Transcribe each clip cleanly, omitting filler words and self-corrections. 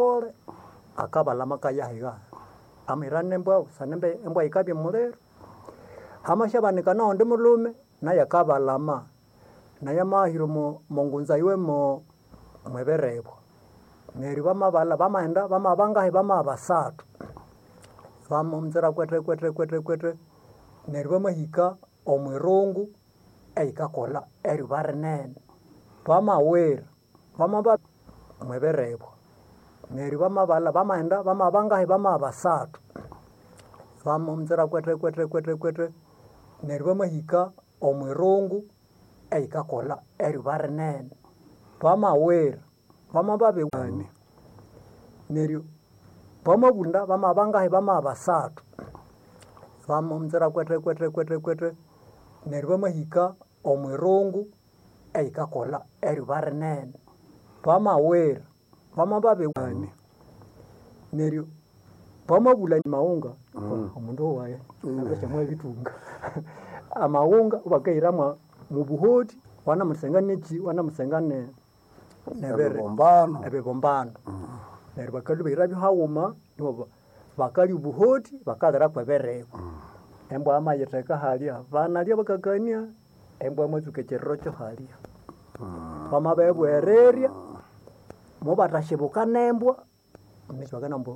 Pole akabalama akayahiga amahira nembwa busana embwa yikabya omuliro. Hamasyabanika noghundi mulhume nayu akabalama nayu amahira omo ngunza yiwe mwebirebwa. Neryo bamabalha bamaghenda bamabangahi bamabasathu. Bamamuzira kwete kwete kwete kwete neryo bamahika omwirungu eyikakolha eryuba rinene. Bamawira bamaba mwebirebwa. Neryo bamabalha bamaghenda bamabangahi bamabasathu. Bamamuzira kwete kwete kwete kwete neryo bamahika omwirungu eyikakolha eryuba rinene. Bamawira bamababi neryo bamabunda bamabangahi bamabasathu. Bamamuzira kwete kwete kwete kwete neryo bamahika omwirungu eyikakolha eryuba rinene. Bamawira bamababi neryo bamabulha amaghunga omundu wayi abishamwabithunga amaghunga ibakahira mwobuhoti wanamusenga neki wanamusenga nebiri Ebibumbano. Ebibumbano. Neryo bakalhwa ibahirabyo haghuma nibo bakalya obuhoti bakalira kwebiribwa. Embwa yamayitheka halya banalya bakakania embwa yamatsuka ekyiriro kyo halya. Bamabibugherirya mobathasyibuka nembwa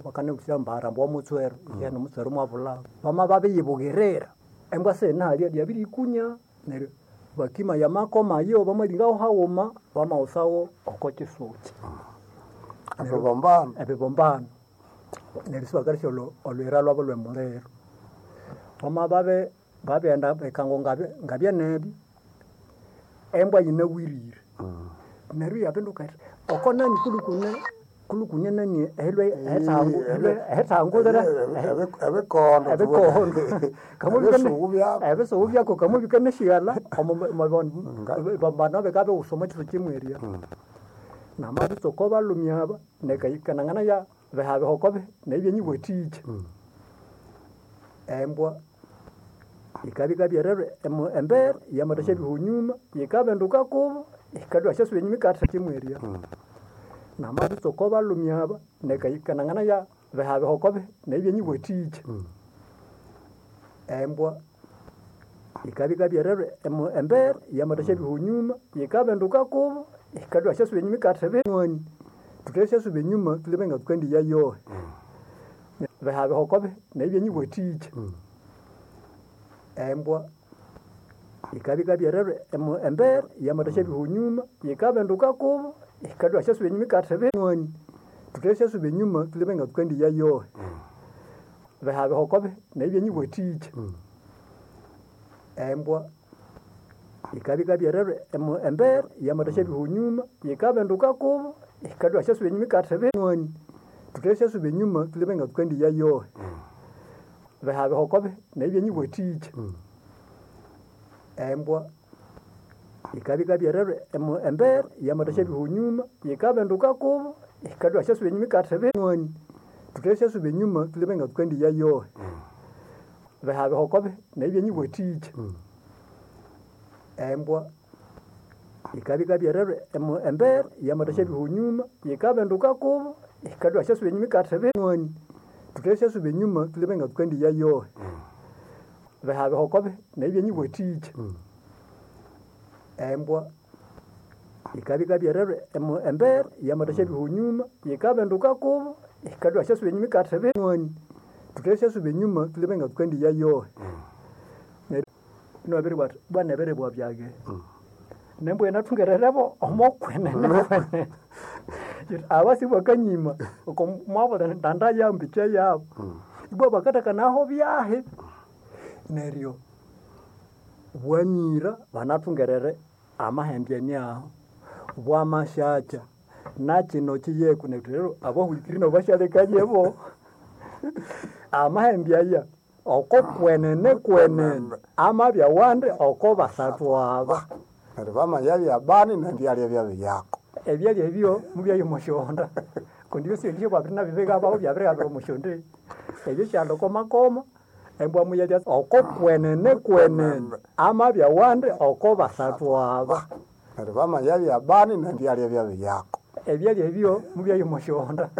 bakanabugha ambara ambu wamutswera ghena omutswera mwabulha. Bamababiyibugirira embwa siyine halya lyabirikunya neryo bakimaya amakoma ayo bamalingawo haghuma bamaghusawo oko kyisukyi. Ebibumbano. Ebibumbano. Neryo sibakalesya olhuyira lhwabu lhwemuliro. Bamababi babighenda ebikango ngabyanebyo embwa yinabwirire neryo iyabinduka yithi oko nani kulhukune kulhukune nani ehilwe ehethangu ehethangulire Ebikondo. Ebikondo. Ebisugu byako. Ebisugu byako kamubika neshighalha omo bibambano bikabya omo kyisukyi mwerya. Namabitsuka balhumi aba nekanangana ya bihabihoko nebyenyiwathikya. Embwa yikabya ikabyererwa embere yamathasyabiha enyuma yikabinduka kubo yikalhwa yasyasuba enyuma yikathakimwerya. Namabitsuka balhumi aba nekanangana ya bihabihoko nebyenyiwathikya. Embwa yikabya ikabyererwa embere yamathasyabiha enyuma yikabinduka kubo yikalhwa yasyasuba enyuma yikathibinwani. Thuthasyasyasuba enyuma thulebe ngathukandiya yohi. Bihabihoko nebyenyiwathikya. Embwa yikabya ikabyererwa embere yamathasyabiha enyuma yikabinduka kubo yikalhwa yasyasuba enyuma yikathibinwani. Thuthasyasyasuba enyuma thulebe ngathukandiya yohi. Bihabihoko nebyenyiwathikya. Embwa yikabya ikabyererwa embere yamathasyabiha enyuma yikabinduka kubo yikalhwa yasyasuba enyuma yikathibinwani. Thuthasyasyasuba enyuma thulebe ngathukandiya yohi. Bihabihoko nebyenyiwathikya. Embwa yikabya ikabyererwa embere yamathasyabiha enyuma yikabinduka kubo yikalhwa yasyasuba enyuma yikathibinwani. Thuthasyasyasuba enyuma thulebe ngathukandiya yohi. Bihabihoko nebyenyiwathikya. Embwa yikabya ikabyererwa embere yamathasyabiha enyuma yikabinduka kubo yikalhwa yasyasuba enyuma yikathibinwani. Thuthasyasyasuba enyuma thulebe ngathukandiya yohi. Bihabihoko nebyenyiwathikya. Embwa yikabya ikabyererwa embere yamathasyabiha enyuma yikabinduka kubo yikalhwa yasyasuba enyuma yikathibinwani. Thuthasyasyasuba enyuma thulebe ngathukandiya yohi. Neryo inabiribugha athi bwana ebiribwa byage nembwa yinathungererebo omokwenene kwenene. Aba sibakanyima oko mwabulira ndanda yabu mbikya yabu. Ibwa bakathakanaho byahi. Neryo bwamira banathungerere amahembe aniaho. Bwamasyakya nakyino kiyeko neryo rero abahulikiri nabo basyalekayebo. Amahembe aya oko kwenene kwenene amabya wandi oko basathu aba. Neryo bamayabya bani nebyalya byabiryako. Ebyalya ebyo mubyaya omosyonda kundi ebyo sibye nabyo byabirighabira omosyonda ebyo syalha oko makoma embwa muyalya oko kwenene kwenene amabya wandi oko basathu aba. Neryo bamayabya bani nebyalya byabiryako. Ebyalya ebyo mubyaya omosyonda.